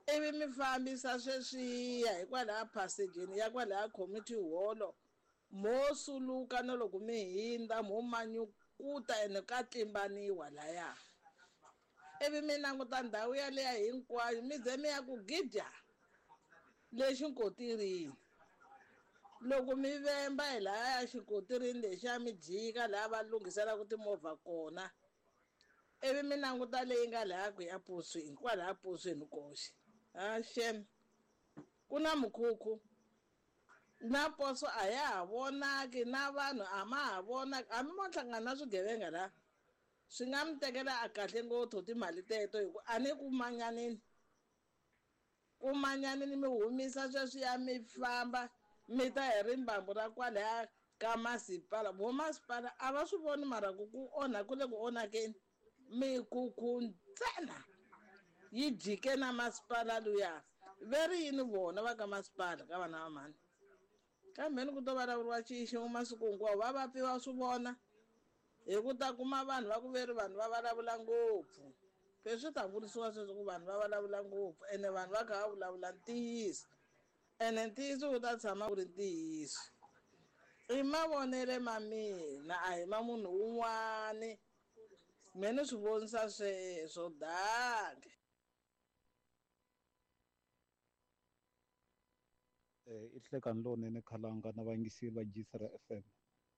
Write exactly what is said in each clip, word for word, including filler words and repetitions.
Ivi mi fambisa sweswiya hikwalaha phasejini ya kwalaya community hall, mo suluka na loko mi hindza mo manyukuta ene ka tlimbaniwa laya. Ivi mi languta ndhawu yaleya hinkwayo mi ze mi ya ku gidya le xinkotirini. Loko mi vemba hi laya xinkotirini lexiya mi jika laha va lunghiselaka timovha kona, ivi mi languta leyi nga laya ku ya posweni, kwalaya posweni koxe. Ha xem, ku na mukhukhu na poso a ya ha vonaki, na vanhu a ma ha vonaki, hambi mo hlangana na swigevenga laha swi nga mi tekela a kahle ngopfu timali teto, hi ku a ni ku manyanini, ku manyanini mi humisa sweswiya mi famba mi ta hi rimbambu ra kwalaya ka masipala. Vo masipala a va swi voni mara ku ku onha ku le ku onhakeni, mikhukhu ntsena yi jike na masipala luya. Ve ri yini vona va ka masipala ka vana va mhani? Kambe ni ku to vulavuriwa xiximo masiku hinkwawo, va va pfiwa swi vona hi ku ta kuma vanhu va ku ve ri vanhu va vulavula ngopfu. Se swi ta vurisiwa sweswo ku vanhu va vulavula ngopfu, ene vanhu va kha va vulavula ntiyiso, ene ntiyiso wu ta tshama wu ri ntiyiso. I mavonele ma mina, a hi ma munhu wun'wani. Me ni swi vonisa sweswo danke. I nhlekani lowunene khalanga na vayingiseri va G C R F M.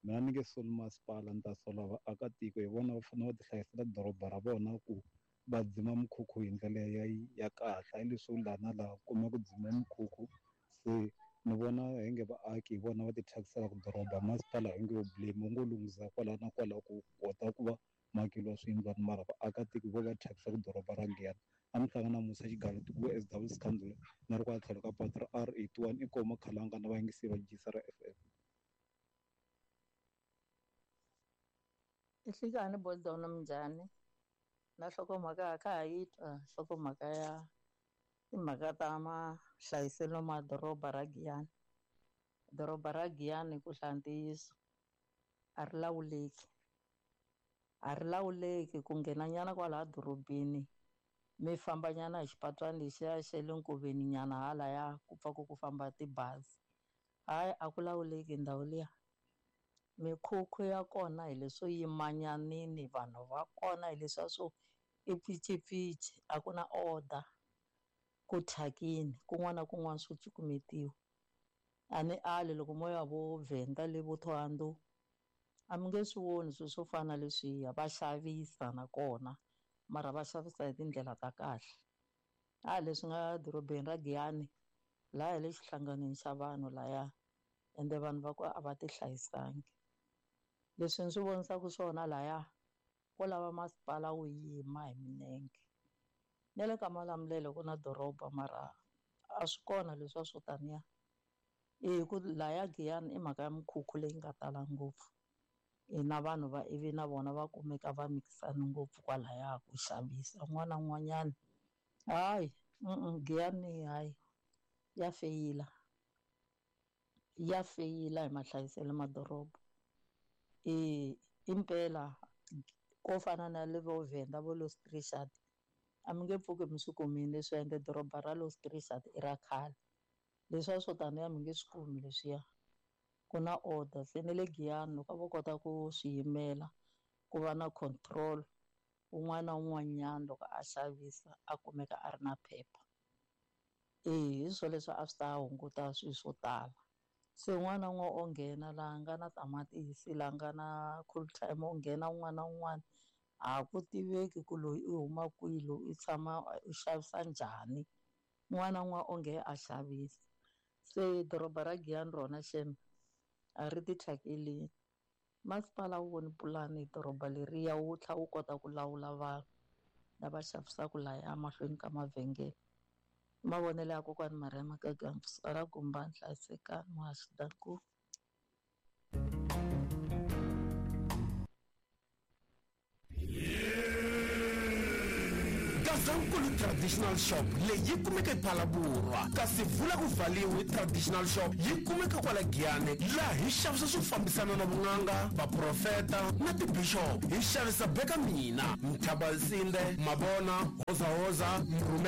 Mina ni nge soli masipala, ni ta sola vaakatiko, hi vona va fanele va ti hlayisela doroba ra vona ku va dzima mikhukhu hi ndlela ya, ya kahle. Hayi leswo laha na laha kuma ku dzima mikhukhu, se ni vona hi nge vaaki hi vona va ti thyakisaka doroba. Masipala hi nge wu blame, wu ngo lunghisa kwala na kwala ku kota ku va makeliwa swiyindlwana, mara vaakatiko vo va thyakisaka doroba ra Giyani. A mi hlangana na Musa Xigalo tiko S W Scandal na ri kwala tlhelo ka patu ra R eighty-one i koma khalanga na vayingiseri va G C R F M. Nhlikani Bodzona minjhani? Na nhlokomhaka ka ha yi twa nhlokomhaka ya timhaka ta mahlayiselo ma doroba ra Giyani. Doroba ra Giyani ku hlaya ntiyiso a ri lawuleki, a ri lawuleki ku nghenanyana kwalaha dorobeni mi fambanyana hi xipatwani lexiya xa le nkoveni nyana halaya ku pfa ku ku famba tibazi. Hayi, a ku lawuleki ndhawu liya. Mikhukhu ya kona hi leswo yimanyanini, vanhu va kona hi leswiya swo i pficipfici, a ku na order, ku thyakini kun'wana na kun'wana swo cukumetiwa. A ni ali loko mo ya vo Venda le vo Thohoyandou a mi nge swi voni swilo swo fana na leswiya, va xavisa nakona mara va xavisa hi tindlela ta kahle. A leswi nga dorobeni ra Giyani laha hi le xihlanganweni xa vanhu laya, ende vanhu va ku a va ti hlayisangi. Leswi ni swi vonisaka swona laya ko lava masipala wu yima hi minenge. Na le ka Malamulele ku na doroba mara a swi kona leswiya swo taniya. I ku laya Giyani i mhaka ya mikhukhu leyi nga tala ngopfu, na vanhu va ivi na vona va kumeka va mikisana ngopfu kwalaya ku xavisa un'wana na un'wanyana. Hayi, Giyani hayi ya feyila, ya feyila hi mahlayiselo ma doroba. I impela ko fana na le vo Venda vo Los Richard a mi nge pfuki mi swi kumile leswi, ende doroba ra Los Richard i ra khale, leswiya swo taniya mi nge swi kumi leswiya. Ku na order se ne le Giyani loko vo kota ku swi yimela ku va na control, un'wana na un'wanyana loko a xavisa a kumeka a ri na phepha. Eh, hi swo leswi a swi ta hunguta swilo swo tala. Se un'wana na un'wana o nghena laha nga na tamatisi, laha nga na cool time, o nghena un'wana na un'wana, a ku tiveki ku loyi i huma kwihi, loyi i tshama u xavisa njhani. Un'wana na un'wana o nghena a xavisa. Se doroba ra Giyani rona xem a ri ti thyakeli. Masipala wu voni pulani doroba leriya wu tlhela wu kota ku lawula vanhu lava xavisaka laya mahlweni ka mavhengele. Mavonelo ya kokwani Maria Makaga ra Gumbani, hlayisekani muhaxi danku. Gazankulu Traditional Shop leyi yi kumeka ePhalaborwa, kasi vula ku vhaliwe Traditional Shop yi kumeka kwala Giyani, laha hi xavisa swo fambisana na vun'anga, vaprofeta na tibishop. Hi xavisa beka mina, Mthabasinde, Mabona, Hozahoza, Mrhume.